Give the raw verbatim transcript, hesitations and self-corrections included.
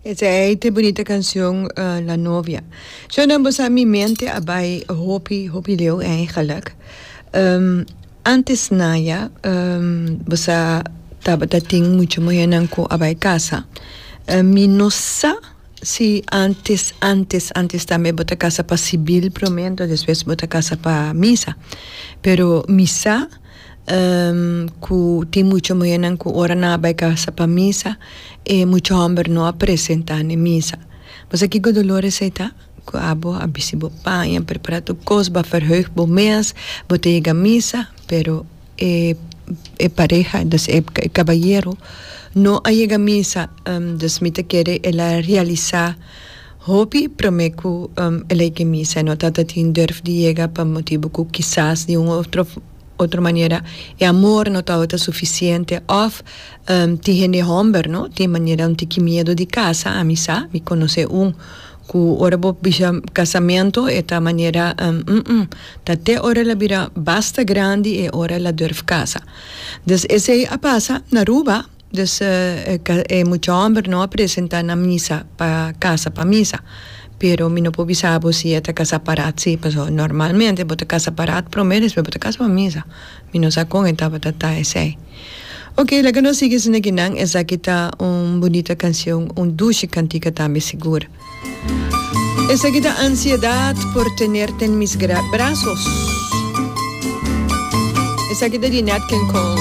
Esey ta bunita cancion uh, La Novia. Zo dan bosa mi mente a bay hopi hopi leu eigenlijk. Um, antes naya um, bosa tabata tin mucha muhernan cu a bay casa. Uh, mi no sa si antes antes antes tambe bo ta casa pa civil prome, despues bo ta casa pa misa. Pero mi sa um, cu tin mucha muhernan cu ora nan a bay casa pa misa e mucha homber no a presenta na misa. Bo sa kico dolor esey ta? Cu abo a bisti bo paña, prepara tur cos, bo a verheug bo mes, bo ta yega misa, pero e e pareha, dus e cabayero no a yega misa, um, dus mi ta kere el a realisa hopi prome cu um, el a yega misa, no tata tin durf di yega pa motibo cu kisas di un otro otro manera e amor no tabata suficiente of um, tin hende homber no tin manera un tiki miedo di casa. Ami sa, mi conoce un cu ora bo bisa casamento e ta manera um, mm, mm, ta te ora el a bira basta grandi e ora el a durf casa. Dus esey a pasa na Aruba, dus uh, e mucha homber no a presenta na misa pa casa pa misa. Pero mi no por bisa bo si e ta casa paraat si, paso normalmente bo ta casa paraat prome, despues bo ta casa pa misa. Mi no sa con e tabata ta esey. Ok, laga nos sigui esaki. Esaki ta un bunita cancion, un dushi cantica tambe sigur. Esaki ta Ansiedad por tenerte en mis brazos. Esaki ta di Nat King Cole.